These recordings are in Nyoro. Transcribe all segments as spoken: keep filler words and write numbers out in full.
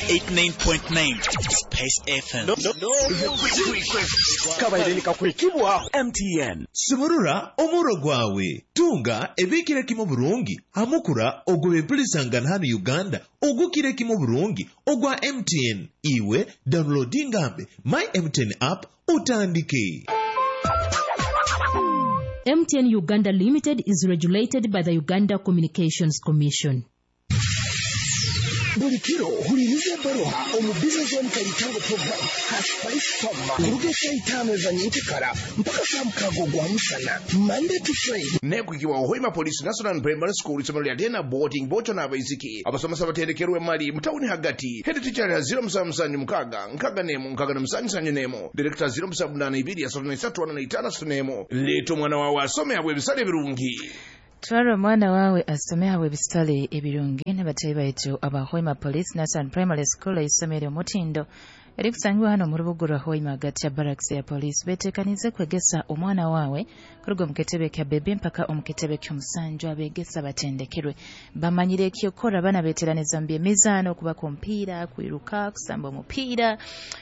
eighty-nine point nine Spice F M. Kabaire nikakwekibwa M T N. Sumurura omuro gwawe, tunga ebikire kimu burungi hamukura ogw'ebempulisangana hano Uganda ogukire kimu burungi ogwa M T N. Iwe downloadingambe My M T N app utandike. M T N Uganda Limited is regulated by the Uganda Communications Commission. Buli kiro huliriza ebbaluha omu Business Zone Kaitango program ha Spice Farm kuruga esaaha itaano ezanyenkekara mpaka saa mukaaga ogwa musana, Monday to Friday. Nekwikibwa Hoima Police National Primary School, isomero lya day na boarding, bocho n'abaisiki. Abasomesa batendekerwe mali mutawuni hagati. Head teacher ya zero musanvu musanvu mukaaga nkaaga nemu nkaaga na musanju sanju nemu, director zero musanvu munaana ibiri asatu na isatu ana na itaano asatu nemu. Leeta omwana wawe asome abwe ebisale ebirungi. Twara omwana wawe asome hawe ebisale ebirungi n'abatayi baitu aba Hoima Police National Primary School, isomero omutindo erikusangibwa hano mu rubuga rwa Hoima hagati ya barracks ya police. Betekanize kwegesa omwana wawe kuruga omu kitebe kya bebe mpaka omu kitebe ky'omusanju. Abegesa batendekerwe, bamanyire ekyokora. Abaana beteraniza mu byemizaano, okubaka omupiira, kwiruka, kusamba omupiira,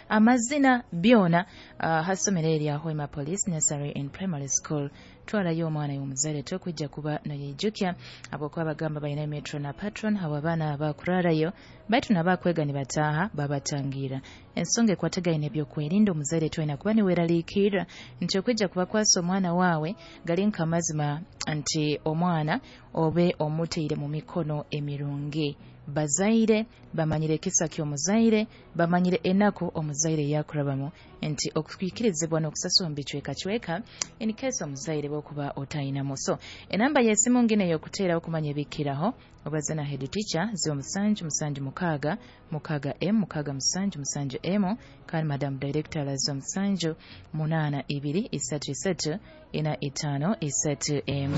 amazina, byona uh, hasomero erya Hoima Police Nursery and Primary School. Twalayo omwana y'omuzaire, tokwijja kuba noyeijukya habwokuba bagamba balina matron na patron abo abaana bakurarayo, baitu nabakwega nibataaha babatangira. Ensonga ekwatagaine ebyokwerinda, omuzaire twena kuba niweraliikirra nti okwijja kubakwasa omwana waawe gali nkamazima nti omwana obe omuteire mu mikono emirungi. Bazaire bamanyire ekisa ky'omuzaire, bamanyire enaku omuzaire yakurabamu, nti okwikirizibwa n'okusasula mu bicwekacweka in case omuzaire bwokuba otayinamu. So enamba y'esimu ngine ey'okuteeraho okumanya ebikiraho, obaze na head teacher, zero musanju musanju mukaaga mukaaga m mukaaga musanju musanju m, kandi madam director ala zero musanju munaana ibiri isatu isatu ina itaano isatu emu.